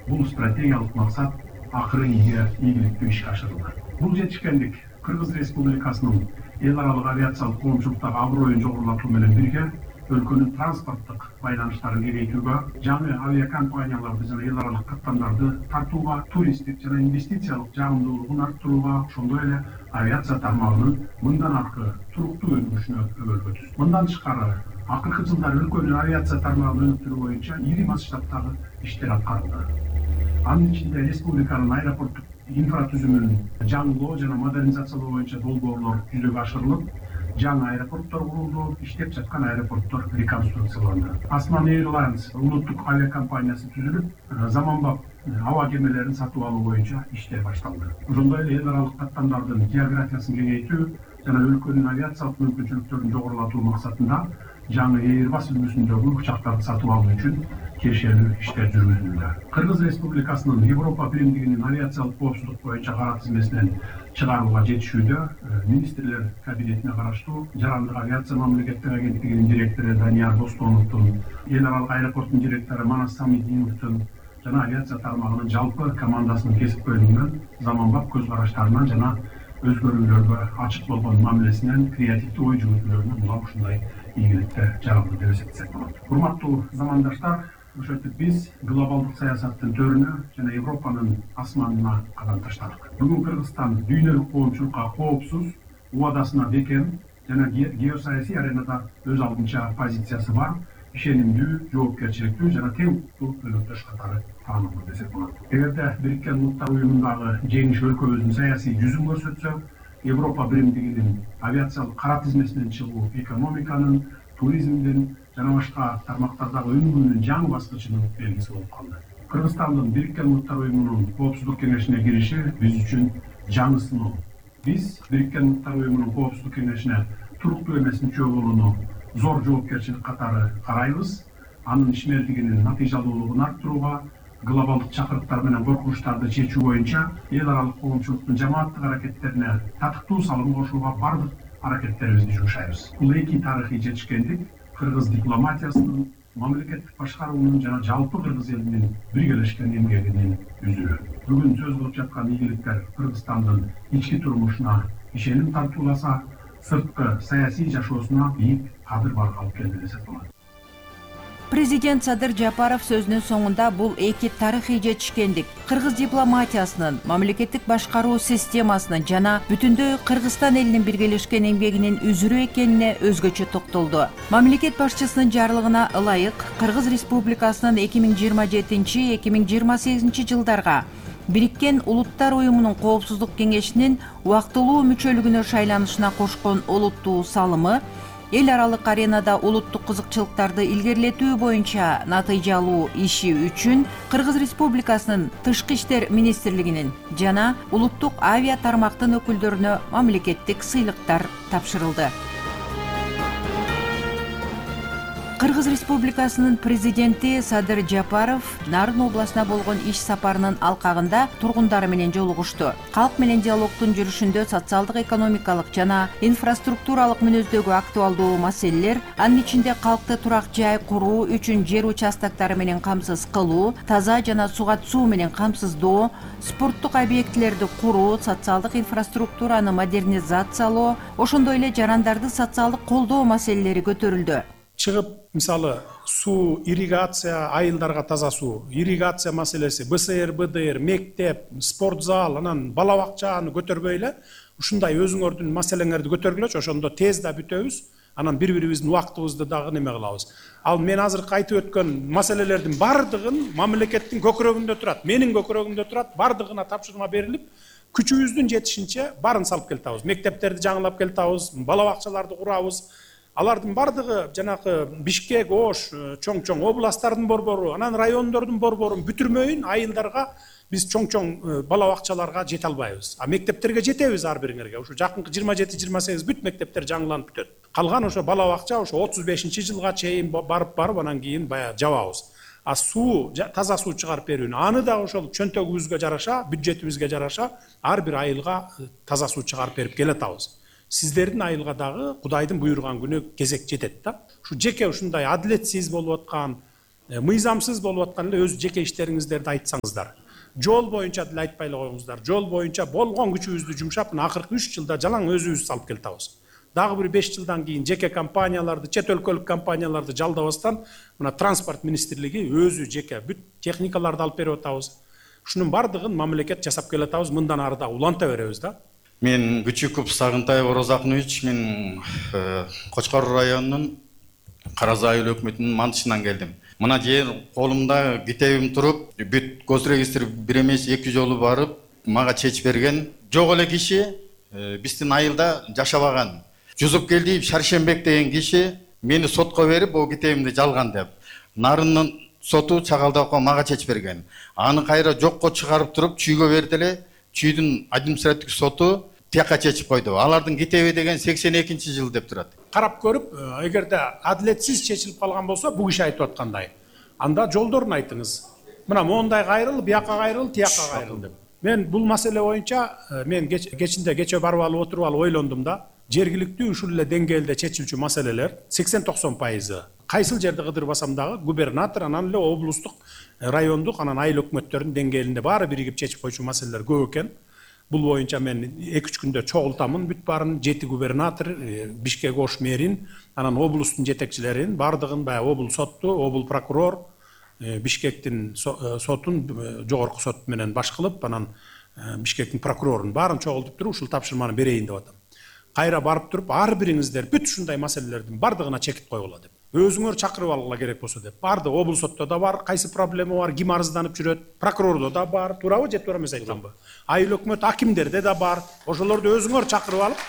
Бул стратегиялык максат акыры ийгиликтүү ишке ашырылды. Бул жетишкендик Кыргыз Республикасынын эл аралык авиациялык коомчулуктагы аброюн жогорулатуу менен бирге өлкөнүн транспорттук байланыштарын кеңейтүүгө, жаңы авиакомпанияларды жана эл аралык каттамдарды тартууга, туристтик жана инвестициялык жагымдуулугун арттырууга, ошондой эле авиация тармагынын мындан аркы туруктуу өнүгүшүнө өбөлгө түздү. Мындан тышкары, акыркы жылдары өлкөнүн авиация тармагын өнүктүрүү боюнча ири масштабтагы иштер аткарылды. Анын ичинде республиканын аэропорттук инфратүзүмүн жаңылоо жана модернизациялоо боюнча долбоорлор жүзөгө ашырылып, жаңы аэропорттор курулду, иштеп жаткан аэропорттор реконструкцияланды. Asman Airlines улуттук авиакомпаниясы түзүлүп, заманбап аба кемелерин сатып алуу боюнча иштер башталды. Ошондой эле эл аралык каттамдардын географиясын кеңейтүү жана өлкөнүн авиациялык мүмкүнчүлүктөрүн жогорулатуу максатында жаңы Airbus үлгүсүндөгү учактарды сатып алуу үчүн тиешелүү иштер жүргүзүлүүдө. Кыргыз Республикасынын Европа биримдигинин авиациялык коопсуздук боюнча кара тизмесинен чыгарууга жетишүүдө министрлер кабинетине караштуу Жарандык авиация мамлекеттик агенттигинин директору Данияр Достоновдун, эл аралык аэропорттун директору Манас Самидиновдун жана авиация тармагынын жалпы командасынын кесипкөйлүгүнөн, заманбап көз караштарынан жана өзгөрүүлөргө ачык болгон мамилесинен, креативдүү ой жүгүртүүлөрүнөн булар ушундай ийгиликке жаралды деп эсептесек болот. Урматтуу замандаштар, ошентип биз глобалдык саясаттын төрүнө жана Европанын асманына кадам таштадык. Бүгүн Кыргызстан дүйнөлүк коомчулукка коопсуз, убадасына бекем жана геосаясий аренада өз алдынча позициясы бар, ишенимдүү, жоопкерчиликтүү жана тең укуктуу өнөктөш катары таанылды десек болот. Эгерде Бириккен Улуттар Уюмундагы жеңиш өлкөбүздүн саясий жүзүн көрсөтсө, Европа биримдигинин авиациялык кара тизмесинен чыгуу экономиканын, туризмдин жана башка тармактардагы өнүгүүнүн жаңы баскычынын белгиси болуп калды. Кыргызстандын Бириккен Улуттар Уюмунун Коопсуздук кеңешине кириши биз үчүн жаңы сыноо. Биз Бириккен Улуттар Уюмунун Коопсуздук кеңешине туруктуу эмес мүчө болууну зор жоопкерчилик катары карайбыз. Анын ишмердигинин натыйжалуулугун арттырууга, глобалдык чакырыктар менен коркунучтарды чечүү боюнча эл аралык коомчулуктун жамааттык аракеттерине татыктуу салым кошууга бардык аракеттерибизди жумшайбыз. Бул эки тарыхый жетишкендик кыргыз дипломатиясынын, мамлекеттик башкаруунун жана жалпы кыргыз элинин биргелешкен эмгегинин үзүрү. Бүгүн сөз кылып жаткан ийгиликтер Кыргызстандын ички турмушуна ишеним тартууласа, сырткы саясий жашоосуна бийик кадыр барга алып келди десек болот. Президент Садыр Жапаров сөзүнүн соңунда бул эки тарыхый жетишкендик кыргыз дипломатиясынын, мамлекеттик башкаруу системасынын жана бүтүндөй Кыргызстан элинин биргелешкен эмгегинин үзүрү экенине өзгөчө токтолду. Мамлекет башчысынын жарлыгына ылайык Кыргыз Республикасынын 2027-2028 жылдарга Бириккен Улуттар Уюмунун Коопсуздук кеңешинин убактылуу мүчөлүгүнө шайланышына кошкон олуттуу салымы эл аралык аренада улуттук кызыкчылыктарды илгерилетүү боюнча натыйжалуу иши үчүн Кыргыз Республикасынын Тышкы иштер министрлигинин жана улуттук авиа тармактын өкүлдөрүнө мамлекеттик сыйлыктар тапшырылды. Кыргыз Республикасынын президенти Садыр Жапаров Нарын областына болгон иш сапарынын алкагында тургундары менен жолугушту. Калк менен диалогдун жүрүшүндө социалдык, экономикалык жана инфраструктуралык мүнөздөгү актуалдуу маселелер, анын ичинде калкты турак жай куруу үчүн жер участоктары менен камсыз кылуу, таза жана суга суу менен камсыздоо, спорттук объектилерди куруу, социалдык инфраструктураны модернизациялоо, ошондой эле жарандарды социалдык колдоо маселелери көтөрүлдү. Чыгып, мисалы, суу, ирригация, айылдарга таза суу, ирригация маселеси, БСР, БДР, мектеп, спортзал, анан бала бакчаны көтөрбөй эле, ушундай өзүңөрдүн маселеңерди көтөргүлөчү, ошондо тез да бүтөбүз, анан бири-бирибиздин убактыбызды дагы неме кылабыз. Ал мен азыркы айтып өткөн маселелердин бардыгын мамлекеттин көкүрөгүндө турат, менин көкүрөгүмдө турат, бардыгына тапшырма берилип, күчүбүздүн жетишинче барын салып келтабыз. Мектептерди жаңылап келтабыз, бала бакчаларды курабыз. Алардын бардыгы жанакы Бишкек, Ош, чоң-чоң областтардын борбору, анан райондордун борборун бүтүрмөйүн айылдарга биз чоң-чоң бала бакчаларга жете албайбыз. А мектептерге жетебиз ар бириңерге. Ошо жакынкы 27-28 бүт мектептер жаңыланып бүтөт. Калган ошо бала бакча ошо 35-жылга чейин барып анан кийин баягы жабабыз. А суу, таза суу чыгарып берүүнү, аны да ошол чөнтөгүбүзгө жараша, бюджетибизге жараша ар бир айылга таза суу чыгарып берип келатабыз. Сиздердин айылга дагы Кудайдын буйруган күнү кезек жетет да. Ушу жеке ушундай адилетсиз болуп аткан, мыйзамсыз болуп аткан эле өз жеке иштериңиздерди айтсаңыздар. Жол боюнча деле айтпай эле коюңуздар. Жол боюнча болгон күчүбүздү жумшап, мына акыркы 3 жылда жалаң өзүбүз салып келатабыз. Дагы бир 5 жылдан кийин жеке компанияларды, чет өлкөлүк компанияларды жалдабастан мына транспорт министрлиги өзү жеке бүт техникаларды алып берип атабыз. Ушунун бардыгын мамлекет жасап келатабыз, мындан ары да уланта беребиз да. Мен Күчүков Сагынтаев Орозакынович, мен Кочкор районунун Караз айыл өкмөтүнүн мантышынан келдим. Мына жер колумда китебим туруп, бүт госрегистр бир эмес 2 жолу барып, мага чечип берген. Жок эле киши биздин айылда жашабаган. Жузупкелдиев Шаршембек деген киши мени сотко берип, бул китебимди жалган деп. Нарындын соту Чагалдакка мага чечип берген. Аны кайра жокко чыгарып туруп, чүйгө берди эле. Чүйдүн административдик соту тияка чечип койду. Алардын китеби деген 82-жыл деп турат. Карап көрүп, эгерде адилетсиз чечилип калган болсо, бул киши айтып аткандай, анда жолдорун айтыңыз. Мына моундай кайрыл, бияка кайрыл, тияка кайрыл деп. Мен бул маселе боюнча мен кече барып алып отуруп алып ойлондум да. Жергиликтүү ушул эле деңгээлде чечилчү маселелер 80-90% кайсыл жерде кыдырбасам дагы губернатор, анан эле облустук, райондук, анан айыл өкмөттөрүнүн деңгээлинде баары биригип чечип койчу маселелер көп экен. Бул боюнча мен 2-3 күндө чогултамын бүт баарын, 7 губернатор, Бишкек ош мэрин, анан облустун жетекчилерин, бардыгын баягы обул сотту, обул прокурор, Бишкектин сотун, жогорку сот менен баш кылып, анан Бишкектин прокурорун баарын чогултуп туруп ушул тапшырманы берейин деп атам. Кайра барып туруп, ар бириңиздер бүт ушундай маселелердин бардыгына чекит койгула деп. Өзүңөр чакырып алгыла керек болсо деп. Барды обул сотто да бар, кайсы проблема бар, ким арызданып жүрөт, прокурордо да бар, туурабы же туура эмес айтканбы? Айыл өкмөт акимдерде да бар. Ошолорду өзүңөр чакырып алып,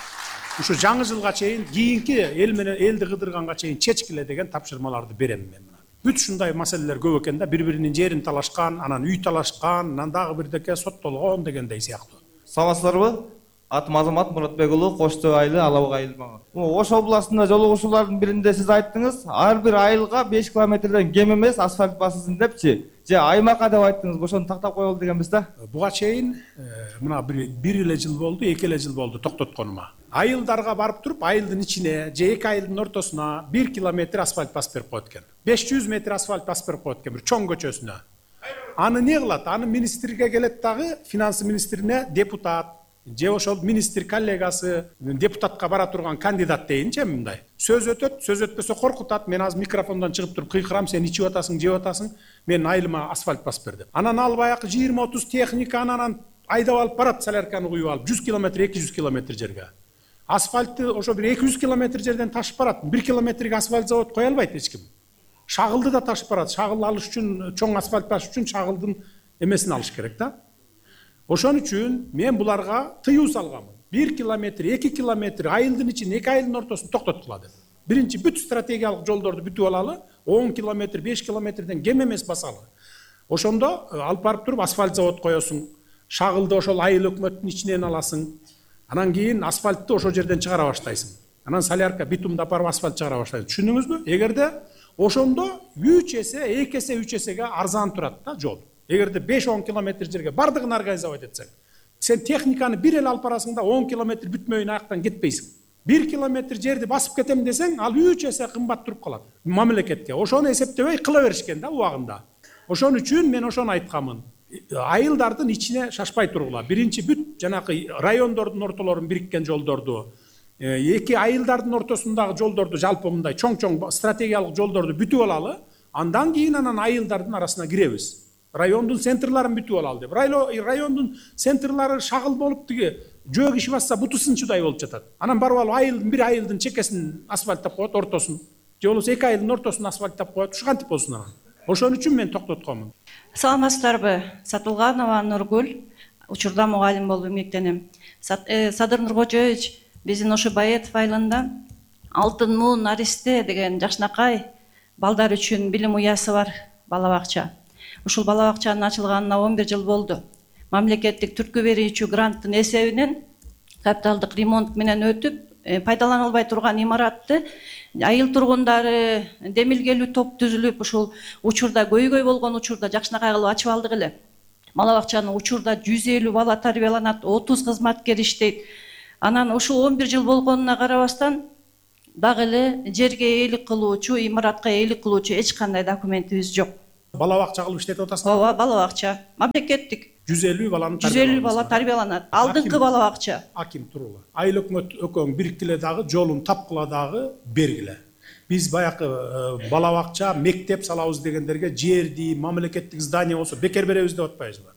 ушу жаңы жылга чейин, кийинки эл менен элди кыдырганга чейин чечкиле деген тапшырмаларды берем мен. Бүт ушундай маселелер көп экен да, бири-биринин жерин талашкан, анан үй талашкан, анан дагы бирдеке соттолгон дегендей сыяктуу. Саламатсыздарбы? Атым Азамат Муратбек уулу, Кош Төө айылы, Алабык айылы. Ош областында жолугушуулардын биринде сиз айттыңыз, ар бир айылга 5 километрден кем эмес асфальт басылсын депчи. Же аймакка деп айттыңыз, ошону тактап коелу дегенбиз да. Буга чейин мына бир эле жыл болду, 2 эле жыл болду токтотконума. Айылдарга барып туруп, айылдын ичине же 2 айылдын ортосуна 1 километр асфальт басып берип коет экен. 500 метр асфальт басып берип коет экен бир чоң көчөсүнө. Аны не кылат? Аны министрге келет дагы, финанс министрине депутат же ошол министр коллегасы, депутатка бара турган кандидат дейинчи мындай. Сөз өтөт, сөз өтпөсө коркутат. Мен азыр микрофондон чыгып туруп кыйкырам, сен ичип атасың, жеп атасың, мен айылыма асфальт басып бер деп. Анан ал баягы 20-30 техниканы анан айдап алып барат, солярканы куюп алып 100 километр, 200 километр жерге. Асфальтты ошо бир 200 километр жерден ташып барат. 1 километрге асфальт завод кое албайт эч ким. Шагылды да ташып барат. Шагыл алыш үчүн, чоң асфальт ташыш үчүн шагылдын эмесин алыш керек да. Ошон үчүн мен буларга тыюу салгам. 1 километр, 2 километр айылдын ичин, 2 айылдын ортосун токтоткула деп. Биринчи бүт стратегиялык жолдорду бүтүп алалы, 10 километр, 5 километрден кем эмес басалы. Ошондо алып барып туруп асфальт завод коесуң. Шагылды ошол айыл өкмөттүн ичинен аласың. Анан кийин асфальтты ошол жерден чыгара баштайсың. Анан солярка, битумду апарып асфальт чыгара баштайсың. Түшүндүңүзбү? Эгерде ошондо 3 эсе, 2 эсе, 3 эсеге арзан турат да жол. Эгерде 5-10 километр жерге бардыгын организовать этсең, сен техниканы бир эле алып барасың да 10 километр бүтмөйүн аяктан кетпейсиң. 1 километр жерди басып кетем десең, ал 3 эсе кымбат туруп калат мамлекетке. Ошону эсептебей кыла беришкен да убагында. Ошон үчүн мен ошону айткамын. Айылдардын ичине шашпай тургула. Биринчи бүт жанакы райондордун ортолорун бириккен жолдорду, 2 айылдардын ортосундагы жолдорду жалпы мындай чоң-чоң стратегиялык жолдорду бүтүп алалы, андан кийин анан айылдардын арасына киребиз. Райондун центрларын бүтүп алалы деп. Райондун центрлары шагыл болуп тиги жөө киши басса буту сынчудай болуп жатат. Анан барып алып айылдын бир айылдын чекесин асфальттап коет, ортосун. Же болбосо 2 айылдын ортосун асфальттап коет. Ушу кантип болсун анан? Ошон үчүн мен токтотконмун. Саламатсыздарбы? Сатылганова Нургүл, учурда мугалим болуп эмгектенем. Садыр Нуркожоевич, биздин ошо Баетов айылында Алтын Муун Аристе деген жакшынакай балдар үчүн билим уясы бар, бала бакча. Ушул бала бакчанын ачылганына 11 жыл болду. Мамлекеттик түрткү берүүчү гранттын эсебинен капиталдык ремонт менен өтүп, пайдаланылбай турган имаратты айыл тургундары демилгелүү топ түзүлүп, ушул учурда көйгөй болгон учурда жакшынакай кылып ачып алдык эле. Бала бакчанын учурда 150 бала тарбияланат, 30 кызматкер иштейт. Анан ушул 11 жыл болгонуна карабастан дагы эле жерге ээлик кылуучу, имаратка ээлик кылуучу эч кандай документибиз жок. Бала бакча кылып иштетип атасызбы? Ооба, бала бакча. Мамлекеттик 150 баланы 150 бала тарбияланат. Алдыңкы бала бакча. Аким турула. Айыл өкмөт экөөң бириктиле дагы жолун тапкыла дагы бергиле. Биз баягы бала бакча, мектеп салабыз дегендерге жерди, мамлекеттик здание болсо бекер беребиз деп атпайбызбы?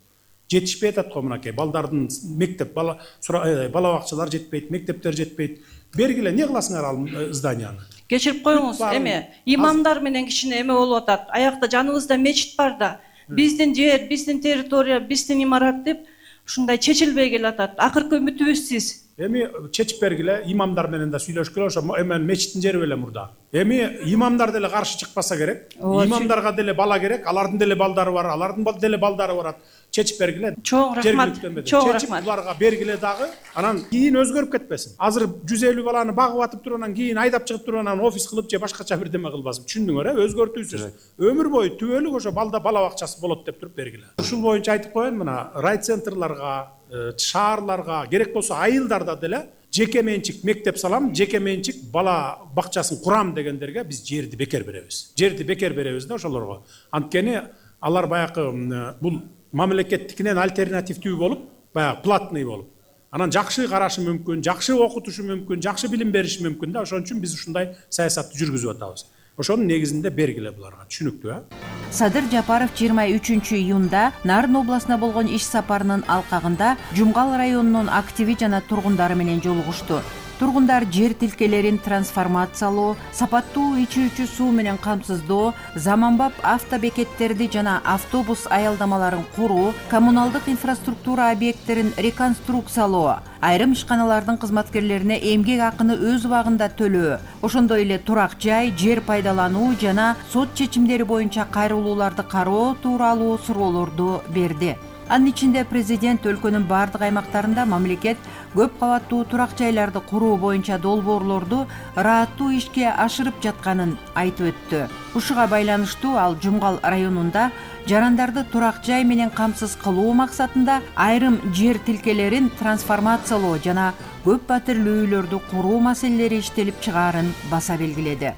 Жетишпей атат го мынакей. Балдардын мектеп, бала бакчалар жетпейт, мектептер жетпейт. Бергиле, не кыласыңар ал зданияны? Кечирип коюңуз, эме имамдар менен кичине эме болуп атат. Аякта жаныбызда мечит бар да. Биздин жер, биздин территория, биздин имарат деп ушундай чечилбей келатат. Акыркы үмүтүбүз сиз. Эми чечип бергиле, имамдар менен да сүйлөшкүлө, ошо эмен мечиттин жери беле мурда. Эми имамдар деле каршы чыкпаса керек. Имамдарга деле бала керек, алардын деле балдары бар, алардын деле балдары барат. Чечип бергиле. Чоң рахмат. Чоң рахмат. Буларга бергиле дагы, анан кийин өзгөрүп кетпесин. Азыр 150 баланы багып атып туруп, анан кийин айдап чыгып туруп, анан офис кылып же башкача бирдеме кылбасын. Түшүндүңөр, өзгөртүүсүз. Өмүр бою түбөлүк ошо бала бакчасы болот деп туруп бергиле. Ушул боюнча айтып коеюн, мына райцентрларга, шаарларга, керек болсо айылдарда деле жеке менчик мектеп салам, жеке менчик бала бакчасын курам дегендерге биз жерди бекер беребиз. Жерди бекер беребиз да ошолорго. Анткени алар баягы бул мамлекеттикинен альтернативдүү болуп, баягы платный болуп. Анан жакшы карашы мүмкүн, жакшы окутушу мүмкүн, жакшы билим бериши мүмкүн да. Ошон үчүн биз ушундай саясатты жүргүзүп атабыз. Ошонун негизинде бергиле буларга. Түшүнүктүү, Садыр Жапаров 23 июнда Нарын областына болгон иш сапарынын алкагында Жумгал районунун активи жана тургундары менен жолугушту. Тургундар жер тилкелерин трансформациялоо, сапаттуу ичүүчү суу менен камсыздоо, заманбап автобекеттерди жана автобус аялдамаларын куруу, коммуналдык инфраструктура объекттерин реконструкциялоо, айрым ишканалардын кызматкерлерине эмгек акыны өз убагында төлөө, ошондой эле турак жай, жер пайдалануу жана сот чечимдери боюнча кайрылууларды кароо тууралуу суроолорду берди. Анын ичинде президент өлкөнүн бардык аймактарында мамлекет көп кабаттуу турак жайларды куруу боюнча долбоорлорду ырааттуу ишке ашырып жатканын айтып өттү. Ушуга байланыштуу ал Жумгал районунда жарандарды турак жай менен камсыз кылуу максатында айрым жер тилкелерин трансформациялоо жана көп патирлүү үйлөрдү куруу маселелери иштелип чыгаарын баса белгиледи.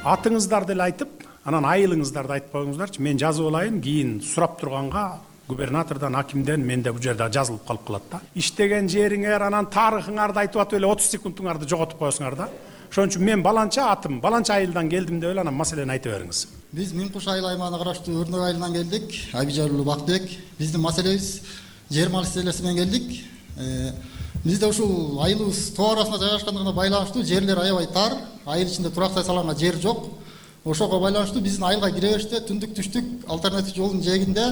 Атыңыздарды эле айтып, анан айылыңыздарды айтып коюңуздарчы. Мен жазып алайын, кийин сурап турганга губернатордон, акимден менде бул жерде жазылып калып калат да. Иштеген жериңер, анан тарыхыңарды айтып атып эле 30 секундуңарды жоготуп коесуңар да. Ошон үчүн мен баланча атым, баланча айылдан келдим деп эле анан маселени айтып бериңиз. Биз Миңкуш айыл аймагына караштуу Өрнөк айылынан келдик. Айбижар уулу Бактыбек. Биздин маселебиз жер маселеси менен келдик. Бизде ушул айылыбыз тоо арасында жайгашкандыгына байланыштуу жерлер аябай тар, айыл ичинде турак салганга жер жок. Ошого байланыштуу биздин айылга кире бериште түндүк түштүк альтернатив жолдун жээгинде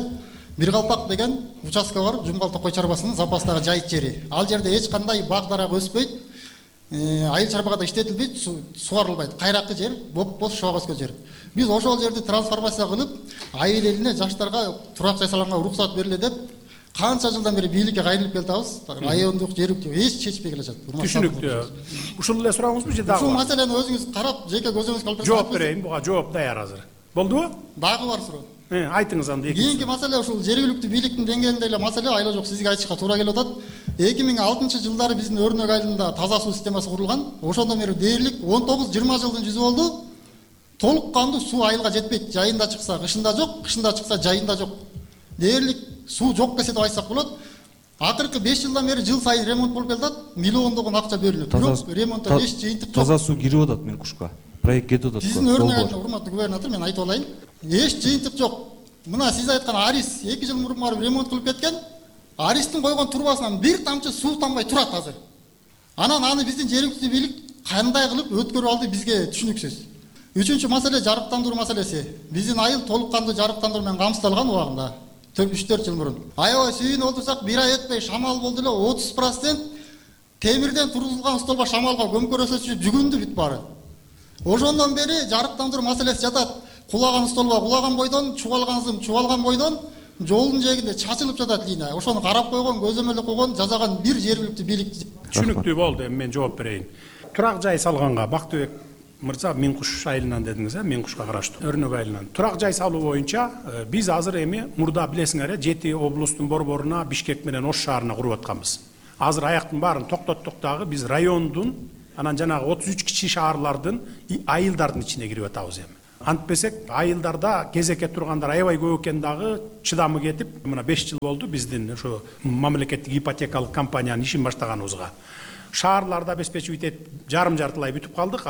Бир Калпак деген участка бар, Жумгал Токой чарбасынын запастагы жайыт жери. Ал жерде эч кандай бак дарак өспөйт, айыл чарбагада иштетилбейт, сугарылбайт. Кайракы жер, боп-боз шоок өскөн жер. Биз ошол жерди трансформация кылып, айыл элине, жаштарга турак жай салганга уруксат бериле деп, канча жылдан бери бийликке кайрылып келатабыз. Райондук, жергиликтүү эч чечпей келе жатат. Түшүнүктүү. Ушул эле сурооңузбу же дагы? Ушул маселени өзүңүз карап, жеке көзүңүз калып жооп берейин, буга жооп даяр азыр. Болдубу? Дагы бар суроо. Айтыңыз анда. Кийинки маселе ушул жергиликтүү бийликтин деңгээлинде эле маселе, айла жок сизге айтышка туура келип атат. 2006-жылдары биздин Өрнөк айылында таза суу системасы курулган. Ошондон бери дээрлик 19-20 жылдын жүзү болду. Толук кандуу суу айылга жетпейт. Жайында чыкса, кышында жок, кышында чыкса, жайында жок. Дээрлик суу жок десе деп айтсак болот. Акыркы 5 жылдан бери жыл сайын ремонт болуп келатат. Миллиондогон акча берилет. Бирок ремонтто эч жыйынтык жок. Таза суу кирип атат Миңкушка. Проект кетип атат. Сиздин Өрнөк айылда урматтуу губернатор, мен айтып алайын. Эч жыйынтык жок. Мына сиз айткан Арис 2 жыл мурун барып ремонт кылып кеткен. Аристин койгон турбасынан бир тамчы суу тамбай турат азыр. Анан аны биздин жергиликтүү бийлик кандай кылып өткөрүп алды бизге түшүнүксүз. Үчүнчү маселе жарыктандыруу маселеси. Биздин айыл толук кандуу жарыктандыруу менен камсыздалган убагында 3-4 жыл мурун. Аябай сүйүнүп отурсак, бир ай өтпөй шамал болду эле 30% темирден тургузулган столба шамалга көмкөрөсөчү жүгүндү бүт баары. Ошондон бери жарыктандыруу маселеси жатат. Кулаган столба кулаган бойдон, чубалган зым чубалган бойдон жолдун жээгинде чачылып жатат линия. Ошону карап койгон, көзөмөлдө койгон, жазаган бир жергиликтүү бийлик. Түшүнүктүү болду, эми мен жооп берейин. Турак жай салганга Бактыбек мырза Миңкуш айылынан дедиңиз, Миңкушка караштуу Өрнөк айылынан. Турак жай салуу боюнча биз азыр эми мурда билесиңер, 7 облустун борборуна, Бишкек менен Ош шаарына куруп атканбыз. Азыр аяктын баарын токтоттук дагы биз райондун анан жанагы 33 кичи шаарлардын айылдардын ичине кирип атабыз эми. Антпесек айылдарда кезекке тургандар аябай көп экен дагы, чыдамы кетип, мына 5 жыл болду биздин ошо мамлекеттик ипотекалык компаниянын ишин баштаганыбызга. Шаарларда обеспечивать этип жарым-жартылай бүтүп калдык,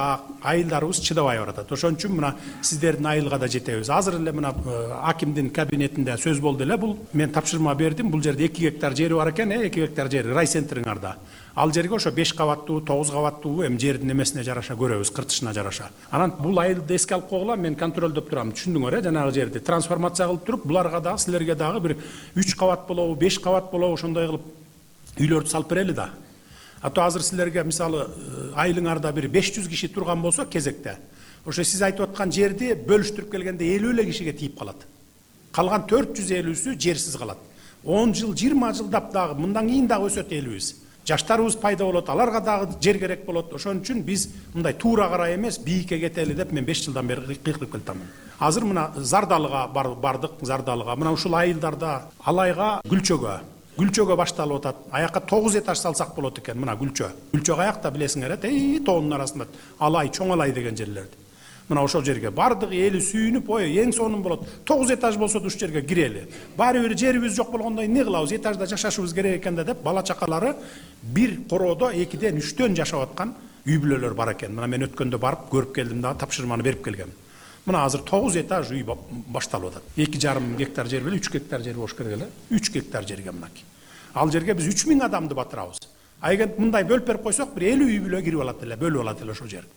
айылдарыбыз чыдабай баратат. Ошон үчүн мына сиздердин айылга да жетебиз. Азыр эле мына акимдин кабинетинде сөз болду эле, бул мен тапшырма бердим, бул жерде 2 гектар жери бар экен, 2 гектар жери райцентриңарда. Ал жерге ошо 5 кабаттуу, 9 кабаттуу эми жердин эмесине жараша көрөбүз, кыртышына жараша. Анан бул айылды эске алып койгула, мен контролдоп турам. Түшүндүңөр жанагы жерди трансформация кылып туруп, буларга дагы силерге дагы бир 3 кабат болобу, 5 кабат болобу, ошондой кылып үйлөрдү салып берели да. Ато азыр силерге мисалы айылыңарда бир 500 киши турган болсо кезекте, ошо сиз айтып аткан жерди бөлүштүрүп келгенде 50 эле кишиге тийип калат. Калган 450-сү жерсиз калат. 10 жыл, 20 жылдап дагы мындан кийин дагы өсөт элибиз. Жаштарыбыз пайда болот, аларга дагы жер керек болот. Ошон үчүн биз мындай туура карай эмес, бийикке кетели деп мен 5 жылдан бери кыйкырып келатамын. Азыр мына Зардалыга бардык, Зардалыга. Мына ушул айылдарда Алайга, Гүлчөгө башталып атат. Аякка 9 этаж салсак болот экен, мына Гүлчө. Гүлчө аякта билесиңер, тоонун арасында Алай, Чоң Алай деген жерлерди. Мына ошол жерге бардык эли сүйүнүп, эң сонун болот. 9 этаж болсо да ушул жерге кирели. Баары бир жерибиз жок болгондо эмне кылабыз? Этажда жашашыбыз керек экен деп бала чакалары бир короодо 2ден 3төн жашап аткан үй бүлөлөр бар экен. Мына мен өткөндө барып көрүп келдим дагы, тапшырманы берип келгем. Мына азыр 9 этаж үй башталып атат. 2,5 гектар жер беле, 3 гектар жер болуш керек эле. 3 гектар жерге мынакей. Ал жерге биз 3000 адамды батырабыз. Айгент мындай бөлүп берип койсок, бир 50 үй бүлө кирип алат эле, бөлүп алат эле ошол жерге.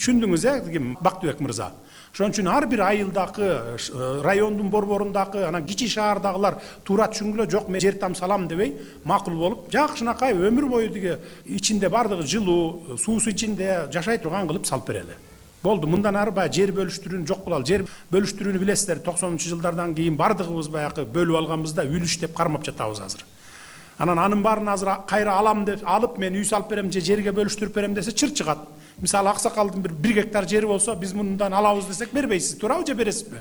Түшүндүңүз, Бактыбек мырза. Ошон үчүн ар бир айылдагы, райондун борборундагы, анан кичи шаардагылар туура түшүнгүлө, жок мен жер там салам дебей, макул болуп, жакшынакай өмүр бою диге ичинде бардыгы жылуу, суусу ичинде жашай турган кылып салып берели. Болду, мындан ары баягы жер бөлүштүрүүнү жок кылалы. Жер бөлүштүрүүнү билесиздер, 90-жылдардан кийин бардыгыбыз баягы бөлүп алганбызда үлүш деп кармап жатабыз азыр. Анан анын баарын азыр кайра алам деп алып мен үй салып берем же жерге бөлүштүрүп берем десе чыр чыгат. Мисалы аксакалдын бир 1 гектар жери болсо, биз мындан алабыз десек бербейсиз, туурабы же бересизби?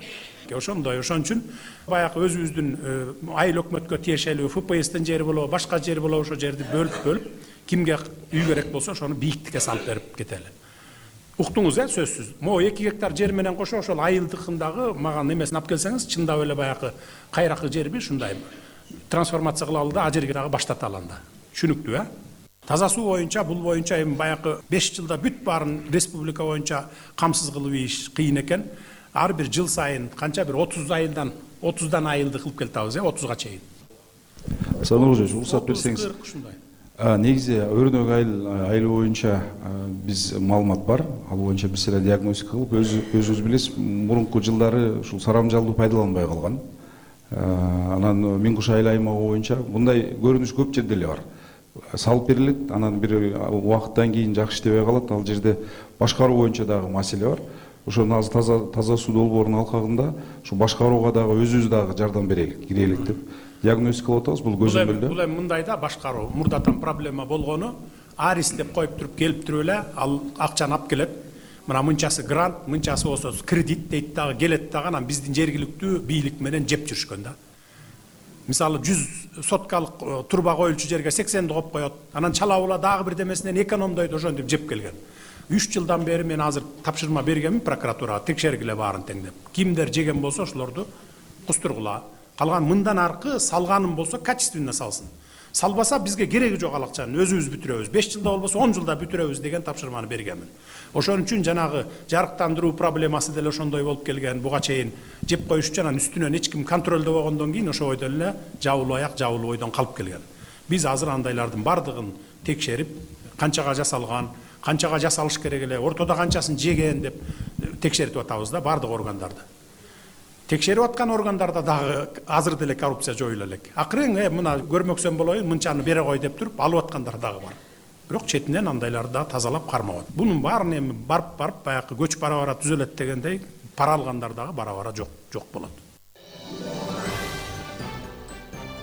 Ошондой, ошон үчүн баягы өзүбүздүн айыл өкмөткө тиешелүү ФПСтин жери болобу, башка жери болобу, ошо жерди бөлүп кимге үй керек болсо ошону бийиктикке салып берип кетели. Уктуңуз, сөзсүз. Могу 2 гектар жер менен кошо ошол айылдыкындагы маган эмесин алып келсеңиз, чындап эле баягы кайракы жерби ушундай трансформация кылалы да, а жерге дагы баштаталы анда. Түшүнүктүү, Таза суу боюнча, бул боюнча эми баягы 5 жылда бүт баарын республика боюнча камсыз кылып иш кыйын экен. Ар бир жыл сайын канча бир 30дан айылды кылып келатабыз, 30га чейин. Сануржевич, уруксат берсеңиз. Негизи Өрнөк айылы боюнча биз маалымат бар. Ал боюнча биз эле диагностика кылып, өзүңүз билесиз, мурунку жылдары ушул сарамжалды пайдаланбай калган. Анан Миңкуш айыл аймагы боюнча мындай көрүнүш көп жерде эле бар. Салып берилет, анан бир убакыттан кийин жакшы иштебей калат. Ал жерде башкаруу боюнча дагы маселе бар. Ошону азыр таза суу долбоорунун алкагында ушу башкарууга дагы өзүбүз дагы жардам берелик, кирелик деп диагностикалап атабыз. Бул көзөмөлдө. Бул эми мындай да башкаруу. Мурдатан проблема болгону арис деп коюп туруп келип туруп эле ал акчаны алып келет. Мына мынчасы грант, мынчасы болсо кредит дейт дагы, келет дагы, анан биздин жергиликтүү бийлик менен жеп жүрүшкөн да. Мисалы 100 соткалык турба коюлчу жерге 80ди коюп коет. Анан чалабыла дагы бир демесинен экономдойт, ошентип жеп келген. 3 жылдан бери мен азыр тапшырма бергенмин прокуратурага, текшергиле баарын тең деп. Кимдер жеген болсо ошолорду кустургула. Калган мындан аркы салганым болсо качественно салсын. Салбаса бизге кереги жок ал акчанын, өзүбүз бүтүрөбүз. 5 жылда болбосо 10 жылда бүтүрөбүз деген тапшырманы бергенмин. Ошон үчүн жанагы жарыктандыруу проблемасы деле ошондой болуп келген. Буга чейин жеп коюш үчүн анан үстүнөн эч ким контролдобогондон кийин ошо бойдон эле жабылуу ойдон калып келген. Биз азыр андайлардын бардыгын текшерип, канчага жасалган, канчага жасалыш керек эле, ортодо канчасын жеген деп текшерип атабыз да бардык органдарды. Текшерип аткан органдарда дагы азыр деле коррупция жоюла элек. Акырын мына көрмөксөн болоюн, мынчаны бере кой деп туруп алып аткандар дагы бар. Бирок четинен андайларды да тазалап кармабат. Бунун баарын эми барып баягы көч бара түзөлөт дегендей, пара алгандар дагы бара жок болот.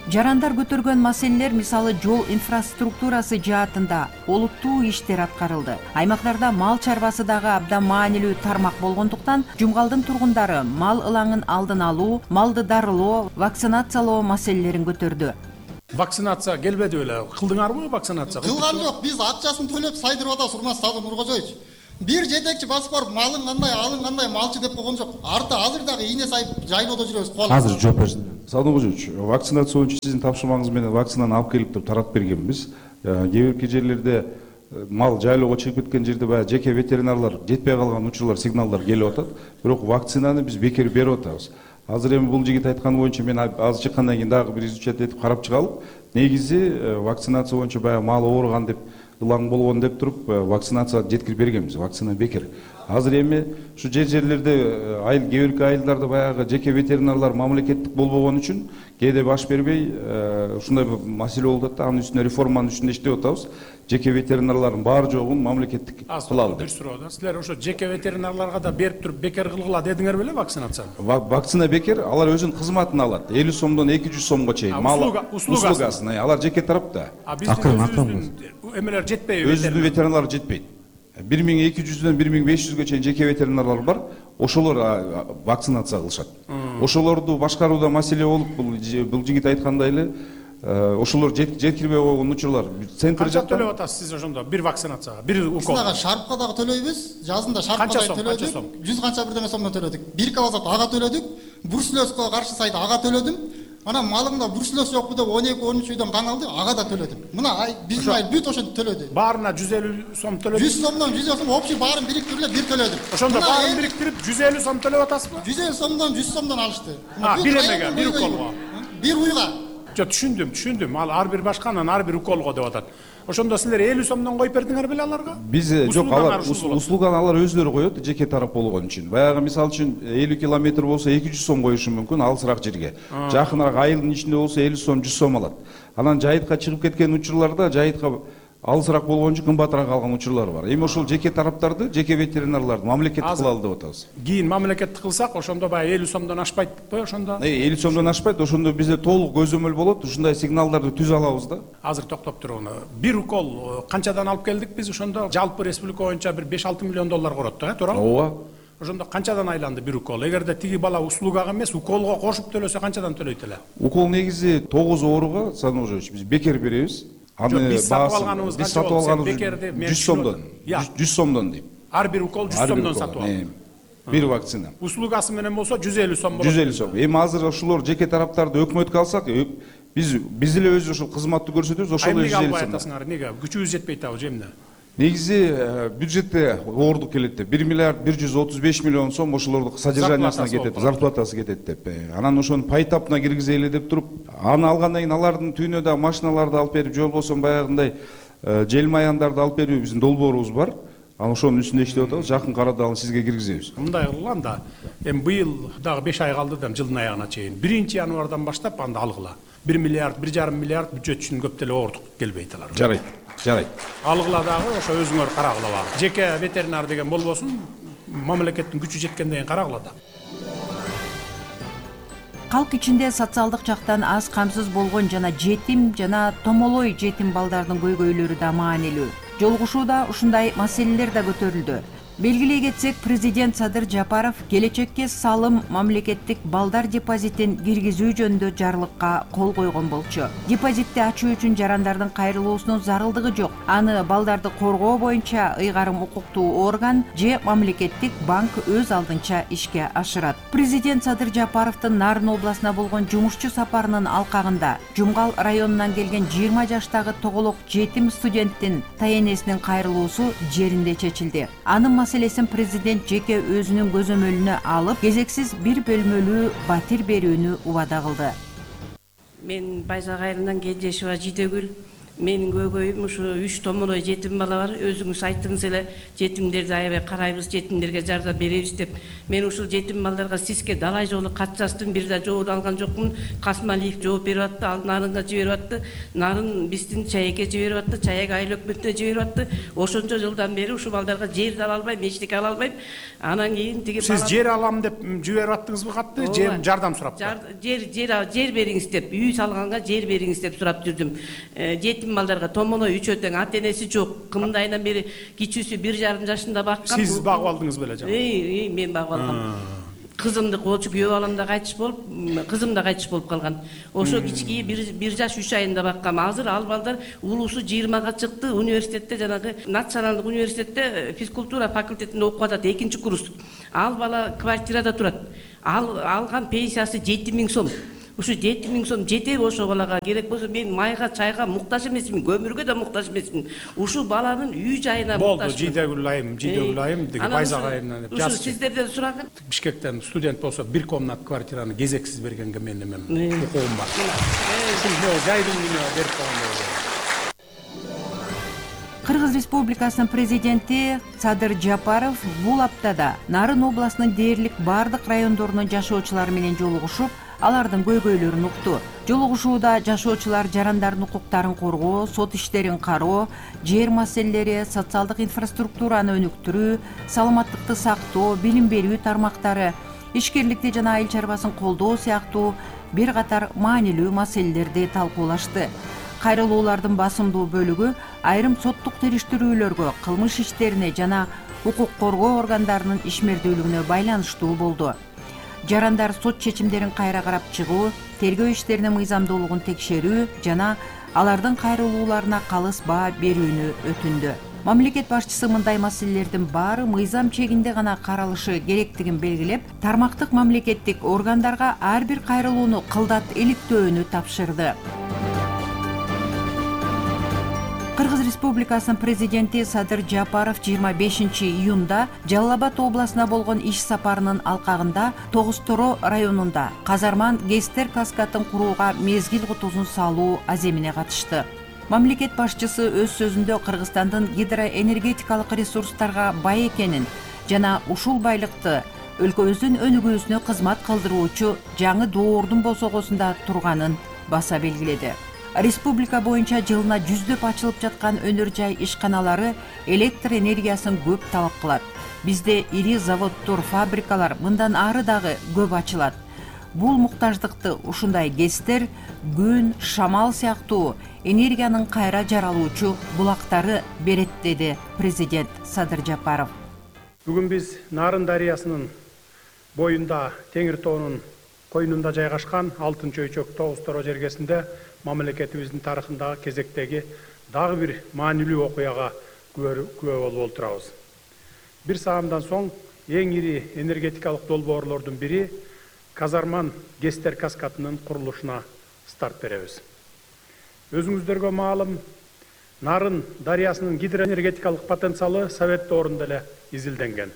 Жарандар көтөргөн маселелер, мисалы жол инфраструктурасы жаатында олуттуу иштер аткарылды. Аймактарда мал чарбасы дагы абдан маанилүү тармак болгондуктан Жумгалдын тургундары мал ылаңын алдын алуу, малды дарылоо, вакцинациялоо маселелерин көтөрдү. Вакцинация келбеди беле? Кылдыңарбы вакцинация? Кылган жок, биз акчасын төлөп сайдырып атабыз, урматтуу Садыр Нуркожоевич. Бир жетекчи басып барып малың кандай, алың кандай малчы деп койгон жок. Арты азыр дагы ийне сайып жайлоодо жүрөбүз. Азыр жооп берсин. Садыр Нуркожоевич, вакцинация боюнча сиздин тапшырмаңыз менен вакцинаны алып келип туруп таратып бергенбиз. Кээ бирки жерлерде мал жайлоого чыгып кеткен жерде баягы жеке ветеринарлар жетпей калган учурлар, сигналдар келип атат. Бирок вакцинаны биз бекер берип атабыз. Азыр эми бул жигит айтканы боюнча мен азыр чыккандан кийин дагы бир изучать этип карап чыгалып, негизи вакцинация боюнча баягы мал ооруган деп, ылаң болгон деп туруп вакцинация жеткирип бергенбиз. Вакцина бекер. Азыр эми ушу жерлерде кээ бирки айылдарда баягы жеке ветеринарлар мамлекеттик болбогон үчүн кээде баш бербей ушундай маселе болуп атат да. Анын үстүнө реформанын үстүндө иштеп атабыз. Жеке ветеринарлардын баары жогун мамлекеттик кылалы. Бир суроо да. Силер ошо жеке ветеринарларга да берип туруп бекер кылгыла дедиңер беле вакцинацияны? Вакцина бекер, алар өзүнүн кызматын алат. 50 сомдон 200 сомго чейин. Услугасын. Алар жеке тарапта. Биздин эмелер жетпейби? Өзүнүн ветеринарлары жетпейт. 1200-дөн 1500-гө чейин жеке ветеринарлар бар. Ошолор вакцинация кылышат. Ошолорду башкарууда маселе болуп, бул жигит айткандай эле ошолор жеткирбей койгон учурлар. Центр Канча төлөп атасыз сиз ошондо бир вакцинацияга, бир укол? Сага шарпка дагы төлөйбүз. Жазында шарпка дагы төлөдүк. 100 канча бирдеме сомдон төлөдүк. Бир кабазат ага төлөдүк. Бруцеллезга каршы сайда ага төлөдүм. Анан малымда бруцеллез жокпу деп 12-13 үйдөн кан алды, ага да төлөдүм. Мына биздин айыл бүт ошентип төлөдү. Баарына 150 сом төлөдүм. 100 сомдон 100 сом общий баарын бириктирип бир төлөдүм. Ошондо баарын бириктирип 150 сом төлөп атасызбы? 150 сомдон 100 сомдон алышты. Бир эмеге, бир уколго. Бир уйга. Жок, түшүндүм. Ал ар бир башканан ар бир уколго деп атат. Ошондо силер 50 сомдон коюп бердиңер беле аларга? Биз жок, алар услуганы алар өздөрү коет, жеке тарап болгон үчүн. Баягы мисалы үчүн 50 километр болсо 200 сом коюшу мүмкүн, алысыраак жерге. Жакыныраак айылдын ичинде болсо 50 сом, 100 сом алат. Анан жайытка чыгып кеткен учурларда жайытка алысыраак болгон үчүн кымбатыраак алган учурлар бар. Эми ошол жеке тараптарды, жеке ветеринарларды мамлекеттик кылалы деп атабыз. Кийин мамлекеттик кылсак, ошондо баягы 50 сомдон ашпайтпы ошондо? 50 сомдон ашпайт, ошондо бизде толук көзөмөл болот, ушундай сигналдарды түзө алабыз да. Азыр токтоп туруңуз. Бир укол канчадан алып келдик биз ошондо? Жалпы республика боюнча бир 5-6 миллион доллар корот да, туурабы? Ооба. Ошондо канчадан айланды бир укол? Эгерде тиги бала услугага эмес, уколго кошуп төлөсө канчадан төлөйт эле? Укол негизи 9 ооруга, Саножович, биз бекер беребиз. Биз сатып алганыбыз бекерди 100 сомдон. 100 сомдон дейм. Ар бир укол 100 сомдон сатып алып. Бир вакцина. Услугасы менен болсо 150 сом болот. 150 сом. Эми азыр ошолор жеке тараптарды өкмөткө алсак, биз эле өзү ошол кызматты көрсөтөбүз, ошол 150 сом. Неге? Күчүбүз жетпейт абы же эмне? Негизи бюджетте оордук келет деп 1 миллиард 135 миллион сом ошолордун содержаниясына кетет, зарплатасы кетет деп. Анан ошону пайтапына киргизели деп туруп, аны алгандан кийин алардын түйүнө да машиналарды алып берип, же болбосо баягындай желмаяндарды алып берүү биздин долбоорубуз бар. Анан ошонун үстүндө иштеп атабыз. Жакын арада аны сизге киргизебиз. Мындай кылгыла анда. Эми быйыл дагы 5 ай калды да жылдын аягына чейин. 1-январдан баштап анда алгыла. 1 миллиард, 1,5 миллиард бюджет үчүн көп деле оордук келбейт алар. Жарайт. Алгыла дагы ошо өзүңөр карагыла бар. Жеке ветеринар деген болбосун, мамлекеттин күчү жеткенден кийин карагыла да. Калк ичинде социалдык жактан аз камсыз болгон жана жетим жана томолой жетим балдардын көйгөйлөрү да маанилүү. Жолугушууда ушундай маселелер да көтөрүлдү. Белгилей кетсек, президент Садыр Жапаров келечекке салым мамлекеттик балдар депозитин киргизүү жөнүндө жарлыкка кол койгон болчу. Депозитти ачуу үчүн жарандардын кайрылуусунун зарылдыгы жок. Аны балдарды коргоо боюнча ыйгарым укуктуу орган же мамлекеттик банк өз алдынча ишке ашырат. Президент Садыр Жапаровдун Нарын областына болгон жумушчу сапарынын алкагында Жумгал районунан келген 20 жаштагы тоголок жетим студенттин таенесинин кайрылуусу жеринде чечилди. Анын маселесин президент жеке өзүнүн көзөмөлүнө алып, кезексиз бир бөлмөлүү батир берүүнү убада кылды. Мен Байзак айылынан Кенжешова Жидегүл. Менин көйгөйүм ушу 3 томолой жетим бала бар. Өзүңүз айттыңыз эле, жетимдерди аябай карайбыз, жетимдерге жардам беребиз деп. Мен ушул жетим балдарга сизге далай жолу кат жаздым, бир да жооп алган жокмун. Касмалиев жооп берип атты, ал Нарынга жиберип атты. Нарын биздин Чаекке жиберип атты, Чаек айыл өкмөтүнө жиберип атты. Ошончо жылдан бери ушул балдарга жер да ала албайм, эчтеке ала албайм. Анан кийин тиги сиз жер алам деп жиберип аттыңызбы катты, же жардам сурап? Жер бериңиз деп, үй салганга жер бериңиз деп сурап жүрдүм. Жетим балдарга томолой үчөө тең ата энеси жок. Кымды айынан бери кичүүсү 1,5 жашында баккан. Сиз багып алдыңыз беле жана? Мен багып алгам. кызымды колчу күйөө балам да кайтыш болуп, кызым да кайтыш болуп калган. Ошо кички 1 жаш 3 айында баккам. Азыр ал балдар улуусу 20-га чыкты. Университетте жанагы националдык университетте физкультура факультетинде окуп атат, 2-курс. Ал бала квартирада турат. Алган пенсиясы 7000 сом. Ушу 7000 сом жетеби ошо балага? Керек болсо мен майга, чайга муктаж эмесмин, көмүргө да муктаж эмесмин. Ушу баланын үй жайына муктаж. Болду, жийдегүл айым деги байзак айымынан деп жазып. Ушу сиздерден сураган. Бишкектен студент болсо 1 комнат квартираны кезексиз бергенге мен эме укугум бар. Ушул жайдын үйүнө берип койгон. Кыргыз Республикасынын президенти Садыр Жапаров бул аптада Нарын областынын дээрлик бардык райондорунун жашоочулары менен жолугушуп, алардын көйгөйлөрүн укту. Жолугушууда жашоочулар жарандардын укуктарын коргоо, сот иштерин кароо, жер маселелери, социалдык инфраструктураны өнүктүрүү, саламаттыкты сактоо, билим берүү тармактары, ишкерликти жана айыл чарбасын колдоо сыяктуу бир катар маанилүү маселелерди талкуулашты. Кайрылуулардын басымдуу бөлүгү айрым соттук териштирүүлөргө, кылмыш иштерине жана укук коргоо органдарынын ишмердүүлүгүнө байланыштуу болду. Жарандар сот чечимдерин кайра карап чыгуу, тергөө иштеринин мыйзамдуулугун текшерүү жана алардын кайрылууларына калыс баа берүүнү өтүндү. Мамлекет башчысы мындай маселелердин баары мыйзам чегинде гана каралышы керектигин белгилеп, тармактык мамлекеттик органдарга ар бир кайрылууну кылдат иликтөөнү тапшырды. Кыргыз Республикасынын президенти Садыр Жапаров 25-июнда Жалал Абад областына болгон иш сапарынын алкагында Тогуз-Торо районунда Казарман Гестер каскатын курууга мезгил кутузун салуу аземине катышты. Мамлекет башчысы өз сөзүндө Кыргызстандын гидроэнергетикалык ресурстарга бай экенин жана ушул байлыкты өлкөбүздүн өнүгүүсүнө кызмат кылдыруучу жаңы доордун босогосунда турганын баса белгиледи. Республика боюнча жылына жүздөп ачылып жаткан өнөр жай ишканалары электр энергиясын көп талап кылат. Бизде ири заводдор, фабрикалар мындан ары дагы көп ачылат. Бул муктаждыкты ушундай гестер, күн, шамал сыяктуу энергиянын кайра жаралуучу булактары берет, деди президент Садыр Жапаров. Бүгүн биз Нарын дарыясынын боюнда Теңир тоонун койнунда жайгашкан Алтын Чөйчөк Тогуз-Торо жергесинде мамлекетибиздин тарыхындагы кезектеги дагы бир маанилүү окуяга күбө болуп отурабыз. Бир саамдан соң эң ири энергетикалык долбоорлордун бири Казарман Гестер каскатынын курулушуна старт беребиз. Өзүңүздөргө маалым, Нарын дарыясынын гидроэнергетикалык потенциалы Совет доорунда эле изилденген.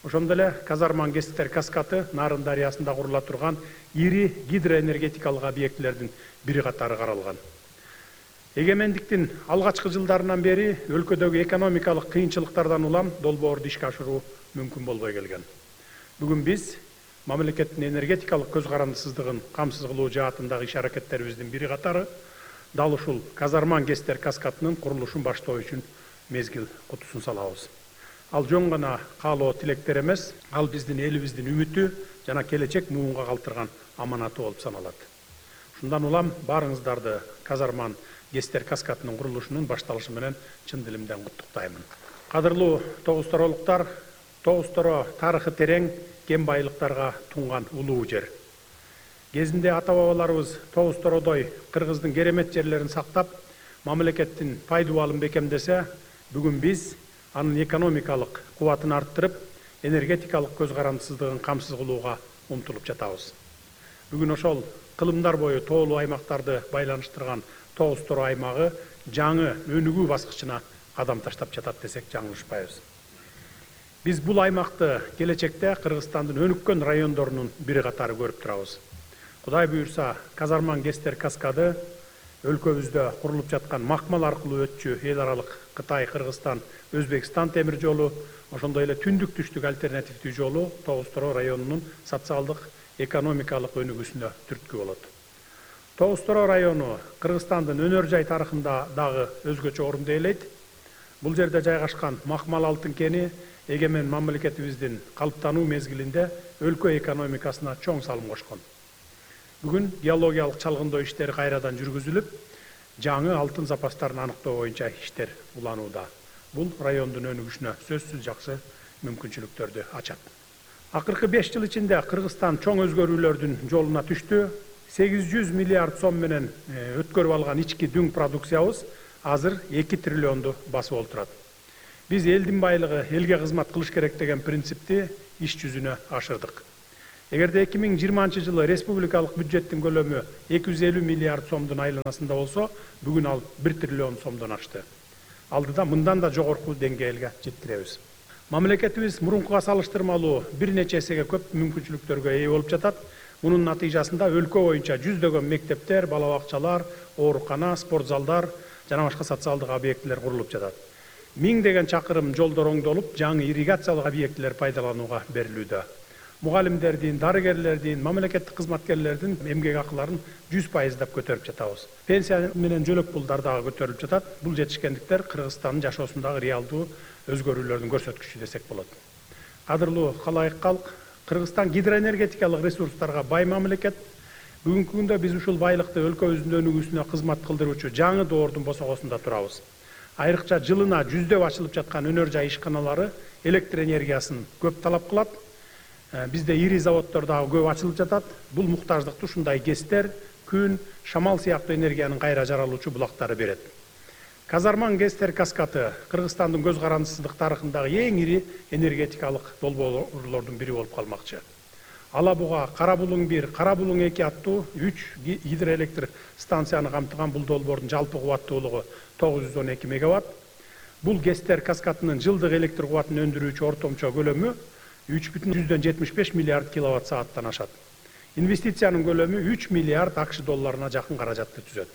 Ошондо эле Казарман Гестер каскаты Нарын дарыясында курула турган ири гидроэнергетикалык объектилердин бири катары каралган. Эгемендиктин алгачкы жылдарынан бери өлкөдөгү экономикалык кыйынчылыктардан улам долбоорду ишке ашыруу мүмкүн болбой келген. Бүгүн биз мамлекеттин энергетикалык көз карандысыздыгын камсыз кылуу жаатындагы иш аракеттерибиздин бири катары дал ушул Казарман Гестер каскатынын курулушун баштоо үчүн мезгил кутусун салабыз. Ал жөн гана каалоо тилектер эмес, ал биздин элибиздин үмүтү жана келечек муунга калтырган аманаты болуп саналат. Шундан улам баарыңыздарды Казарман Гестер каскатынын курулушунун башталышы менен чын дилимден куттуктаймын. Кадырлуу Тогуз-Торолуктар, Тогуз-Торо тарыхы терең, кен байлыктарга тунган улуу жер. Кезинде ата-бабаларыбыз Тогуз-Тородой Кыргыздын керемет жерлерин сактап, мамлекеттин пайдубалын бекемдесе, бүгүн биз анын экономикалык кубатын арттырып, энергетикалык көз карандысыздыгын камсыз кылууга умтулуп жатабыз. Бүгүн ошол кылымдар бою тоолуу аймактарды байланыштырган Тогуз-Торо аймагы жаңы өнүгүү баскычына кадам таштап жатат десек жаңылышпайбыз. Биз бул аймакты келечекте Кыргызстандын өнүккөн райондорунун бири катары көрүп турабыз. Кудай буюрса, Казарман Гестер каскады өлкөбүздө курулуп жаткан макмал аркылуу өтчү эл аралык Кытай, Кыргызстан, Өзбекстан темир жолу, ошондой эле түндүк-түштүк альтернативдүү жолу Тогуз-Торо районунун социалдык, экономикалык өнүгүүсүнө түрткү болот. Тогуз-Торо району Кыргызстандын өнөр жай тарыхында дагы өзгөчө орунду ээлейт. Бул жерде жайгашкан макмал алтын кени эгемен мамлекетибиздин калыптануу мезгилинде өлкө экономикасына чоң салым кошкон. Бүгүн геологиялык чалгындоо иштери кайрадан жүргүзүлүп, жаңы алтын запастарын аныктоо боюнча иштер уланууда. Бул райондун өнүгүшүнө сөзсүз жакшы мүмкүнчүлүктөрдү ачат. Акыркы 5 жыл ичинде Кыргызстан чоң өзгөрүүлөрдүн жолуна түштү. 800 миллиард сом менен өткөрүп алган ички дүң продукциябыз азыр 2 триллионду басып олтурат. Биз элдин байлыгы элге кызмат кылыш керек деген принципти иш жүзүнө ашырдык. Эгерде 2020 жылы республикалык бюджеттин көлөмү 250 миллиард сомдун айланасында болсо, бүгүн ал 1 триллион сомдон ашты. Алдыда мындан да жогорку деңгээлге жеткиребиз. Мамлекетибиз мурункуга салыштырмалуу бир нече эсеге көп мүмкүнчүлүктөргө ээ болуп жатат. Мунун натыйжасында өлкө боюнча жүздөгөн мектептер, балабакчалар, оорукана, спорт залдар жана башка социалдык объектилер курулуп жатат. Миңдеген чакырым жолдор оңдолуп, жаңы ирригациялык объектилер пайдаланууга берилүүдө. Мугалимдердин, дарыгерлердин, мамлекеттик кызматкерлердин эмгек акыларын 100% көтөрүп жатабыз. Пенсия менен жөлөк пулдар дагы көтөрүлүп жатат. Бул жетишкендиктер Кыргызстандын жашоосундагы реалдуу өзгөрүүлөрдүн көрсөткүчү десек болот. Кадырлуу калайык калк, Кыргызстан гидроэнергетикалык ресурстарга бай мамлекет. Бүгүнкү күндө биз ушул байлыкты өлкөбүздүн өнүгүүсүнө кызмат кылдыруучу жаңы доордун босогосунда турабыз. Айрыкча жылына жүздөп ачылып жаткан өнөр жай ишканалары электр энергиясын көп талап кылат. Бизде ири заводдор дагы көп ачылып жатат. Бул муктаждыкты ушундай ГЭСтер, күн, шамал сыяктуу энергиянын кайра жаралуучу булактары берет. Казарман ГЭСтер каскаты Кыргызстандын көз карандысыздык тарыхындагы эң ири энергетикалык долбоорлордун бири болуп калмакчы. Алабуга, Карабулуң 1, Карабулуң 2 аттуу 3 гидроэлектр станцияны камтыган бул долбоордун жалпы кубаттуулугу 912 мегаватт. Бул ГЭСтер каскатынын жылдык электр кубатын өндүрүүчү ортомчо көлөмү 3,75 миллиард киловатт сааттан ашат. Инвестициянын көлөмү 3 миллиард АКШ долларына жакын каражатты түзөт.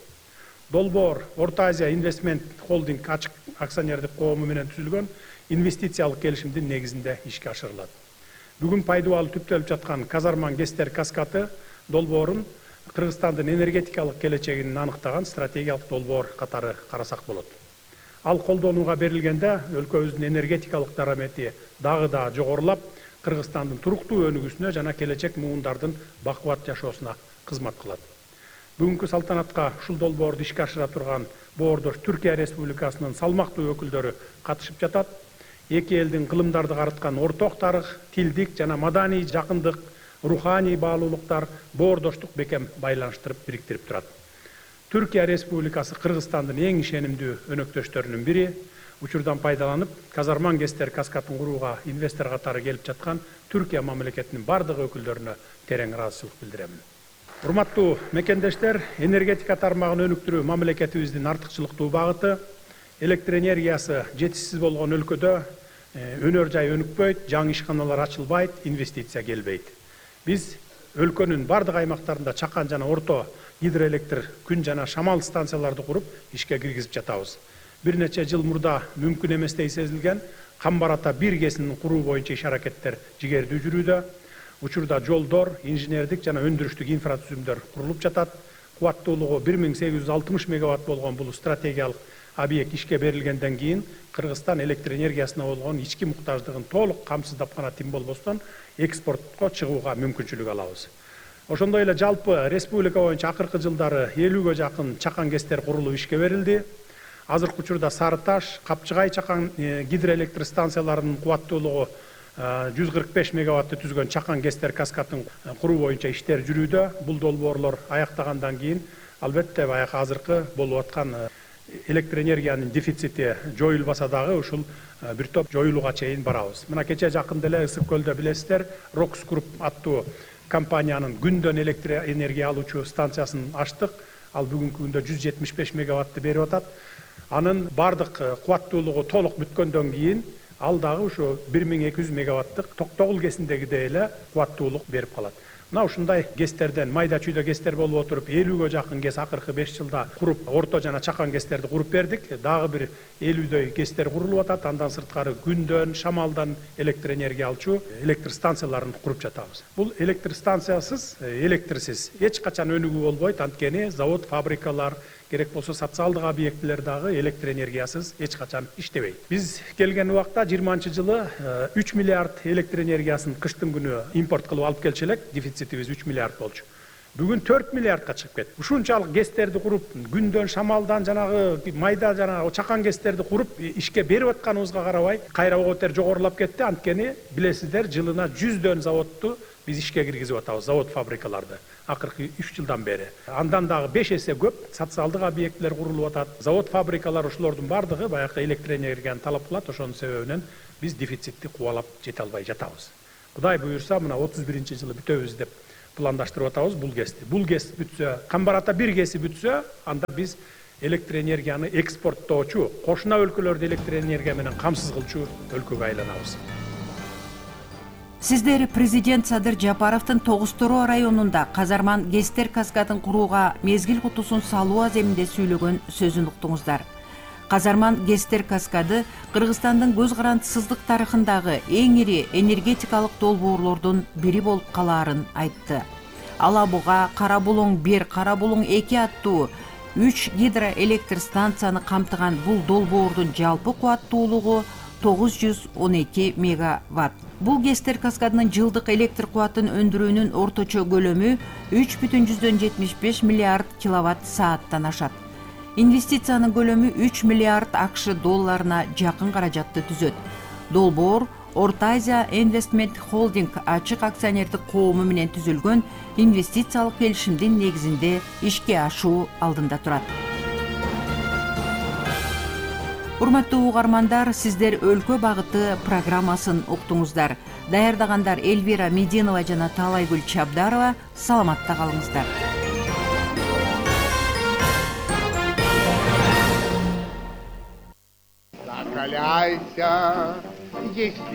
Долбоор Орто Азия Инвестмент Холдинг ачык акционердик коому менен түзүлгөн инвестициялык келишимдин негизинде ишке ашырылат. Бүгүн пайдалануу түптөлүп жаткан Казарман ГЭСтер каскаты долбоорун Кыргызстандын энергетикалык келечегин аныктаган стратегиялык долбоор катары карасак болот. Ал колдонууга берилгенде өлкөбүздүн энергетикалык дарамети дагы да жогорулап, Кыргызстандын туруктуу өнүгүүсүнө жана келечек муундардын бакубат жашоосуна кызмат кылат. Бүгүнкү салтанатка ушул долбоорду ишке ашыра турган боордош Түркия Республикасынын салмактуу өкүлдөрү катышып жатат. Эки элдин кылымдарды карыткан орток тарых, тилдик жана маданий жакындык, руханий баалуулуктар боордоштук бекем байланыштырып бириктирип турат. Түркия Республикасы Кыргызстандын эң ишенимдүү өнөктөштөрүнүн бири. Учурдан пайдаланып, Казарман ГЭСтер каскатын курууга инвестор катары келип жаткан Түркия мамлекетинин бардык өкүлдөрүнө терең ыраазычылык билдиремин. Урматтуу мекендештер, энергетика тармагын өнүктүрүү мамлекетибиздин артыкчылыктуу багыты. Электр энергиясы жетишсиз болгон өлкөдө өнөр жай өнүкпөйт, жаңы ишканалар ачылбайт, инвестиция келбейт. Биз өлкөнүн бардык аймактарында чакан жана орто гидроэлектр, күн жана шамал станцияларды куруп ишке киргизип жатабыз. Бир нече жыл мурда мүмкүн эместей сезилген Камбар Ата 1 ГЭСин куруу боюнча иш-аракеттер жигердүү жүрүүдө. Учурда жолдор, инженердик жана өндүрүштүк инфратүзүмдөр курулуп жатат. Кубаттуулугу 1860 мегаватт болгон бул стратегиялык объект ишке берилгенден кийин Кыргызстан электр энергиясына болгон ички муктаждыгын толук камсыздап гана тим болбостон экспортко чыгууга мүмкүнчүлүк алабыз. Ошондой эле жалпы республика боюнча акыркы жылдары 50ге жакын чакан ГЭСтер курулуп ишке берилди. Азыркы учурда Сары Таш, Капчыгай чакан гидроэлектр станцияларынын кубаттуулугу 145 мегаватты түзгөн чакан ГЭСтер каскатын куруу боюнча иштер жүрүүдө. Бул долбоорлор аяктагандан кийин албетте баягы азыркы болуп аткан электр энергиянын дефицити жоюлбаса дагы ушул бир топ жоюлууга чейин барабыз. Мына кече жакында эле Ысык көлдө билесиздер, Рокс Груп аттуу компаниянын күндөн электр энергия алуучу станциясын ачтык. Ал бүгүнкү күндө 175 мегаватты берип атат. Анын бардык кубаттуулугу толук бүткөндөн кийин ал дагы ушу 1200 мегаваттык Токтогул ГЭСиндегидей эле кубаттуулук берип калат. Мына ушундай ГЭСтерден майда чүйдө ГЭСтер болуп отуруп 50ге жакын ГЭС акыркы 5 жылда куруп, орто жана чакан ГЭСтерди куруп бердик. Дагы бир 50дөй ГЭСтер курулуп атат. Андан сырткары күндөн, шамалдан электр энергия алчу электр станцияларын куруп жатабыз. Бул электр станциясыз, электрсиз эч качан өнүгүү болбойт. Анткени завод, фабрикалар, керек болсо социалдык объектилер дагы электр энергиясыз эч качан иштебейт. Биз келген убакта 20-жылы 3 миллиард электр энергиясын кыштын күнү импорт кылып алып келчү элек, дефицитибиз 3 миллиард болчу. Бүгүн 4 миллиардка чыгып кетти. Ушунчалык ГЭСтерди куруп, күндөн, шамалдан жанагы майда жанагы чакан ГЭСтерди куруп ишке берип атканыбызга карабай, кайра ого бетер жогорулап кетти. Анткени билесиздер, жылына 100 заводду биз ишке киргизип атабыз, завод фабрикаларды. Акыркы 3 жылдан бери. Андан дагы 5 эсе көп социалдык объектилер курулуп атат. Завод фабрикалар ушулордун бардыгы баягы электроэнергияны талап кылат. Ошонун себебинен биз дефицитти кубалап жете албай жатабыз. Кудай буюрса, мына 31-жылы бүтөбүз деп пландаштырып атабыз бул ГЭСти. Бул ГЭС бүтсө, Камбарата 1 ГЭСи бүтсө, анда биз электроэнергияны экспорттоочу, кошуна өлкөлөрдү электроэнергия менен камсыз кылчу өлкөгө айланабыз. Сиздер президент Садыр Жапаровдун Тогуз-Тороо районунда Казарман ГЭСтер каскадын курууга мезгил кутусун салуу аземинде сүйлөгөн сөзүн уктуңуздар. Казарман ГЭСтер каскады Кыргызстандын көз карандысыздык тарыхындагы эң ири энергетикалык долбоорлордун бири болуп калаарын айтты. Ала Буга, Кара Булуң 1, Кара Булуң 2 аттуу 3 гидроэлектр станцияны камтыган бул долбоордун жалпы кубаттуулугу 912 мегаватт. Бул ГЭСтер каскадынын жылдык электр кубатын өндүрүүнүн орточо көлөмү 3,75 миллиард киловатт сааттан ашат. Инвестициянын көлөмү 3 миллиард АКШ долларына жакын каражатты түзөт. Долбоор Орто Азия Investment Holding ачык акционердик коому менен түзүлгөн инвестициялык келишимдин негизинде ишке ашуу алдында турат. Урматтуу угармандар, сиздер Өлкө багыты программасын уктуңуздар. Даярдагандар Эльвира Мединова жана Таалайгүл Чабдарова. Саламатта калыңыздар. Закаляйся, если